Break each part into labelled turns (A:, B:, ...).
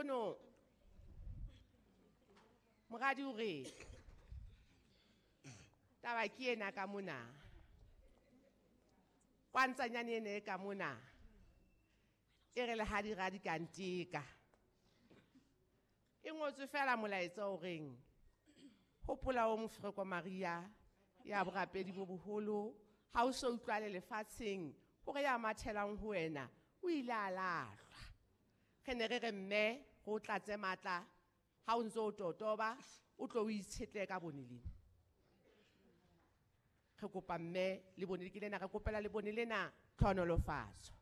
A: Nkgono moradi o re taba ke ena ka mona kwantsanyane ene e ka mona e re le ha di ra di ka nteka e ngotswe fela molaetsa o reng hopola o mofereko Maria ya borapedi bo boholo ha o so utlwale lefatsheng hore ya mathelang ho wena o ile a lahlwa. Re ne re re mme go tlatse matla ha o ntse o totoba o tlo o itshetle ka bone lena. Re kopa mme le bone ke lena re kopela le bone lena tlhonolofatso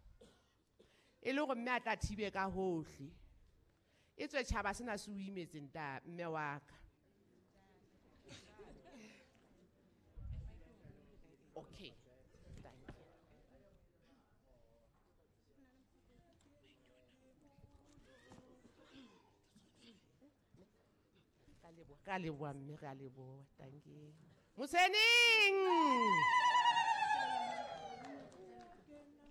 A: e le hore mme a tla thibe ka hohle e tswe tjhaba sena se o imetseng ta mme wa ka. Okay, thank you. Ka leboha mme re a leboha. Thank you. Moseneng.